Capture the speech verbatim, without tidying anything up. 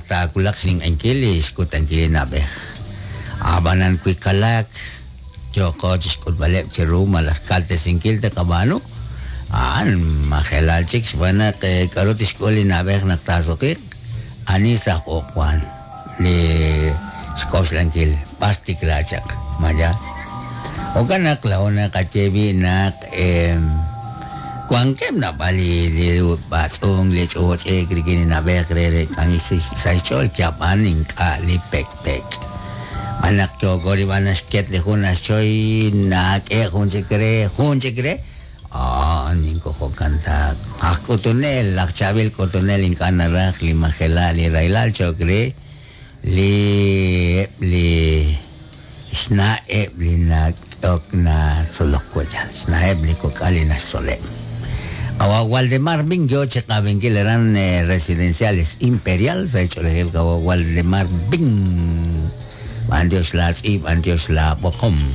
Taawulaq xninq'ehinkil li xkutankil li na'b'ej. Ab'anan wi kalaak yooqo chi xk'utb'aleb' cheru malaj kaltesinkil taqab'aanu, a'an majelal chik xb'aan naq k'aru tixk'ul li na'b'ej naq taasuqiiq, ani sa' q'uq' wan li xk'oxlankil b'ar xtikla chaq ma yaal. Jo'kan naq laa'o naqaye b'i' naq wankeb' naab'al li li b'atz'unk li ch'och'ek rik'in li na'b'ej re reek'ankil sa' xch'ool yab'an ink'a' li pekpek. Xb'aan naq yooko rib'an naxket li jun naxchoy nak'e jun chik re jun chik re a'an inko jo'kan ta aj k'utunel aj chaab'il k'utunel ink'a' naraj li majelal li rahilal cho'q re li eb' li xna'eb' li nak'ehok natzolok wi' xna'eb' li kok'al li naxtzoleb'. Qawa' Waldemar Bin yo chi qab'inkil aran Residenciales Imperial sa' xch'oolejil qawa' Waldemar Bin. B'antiox laatz'iib', b'antiox laab'oqom.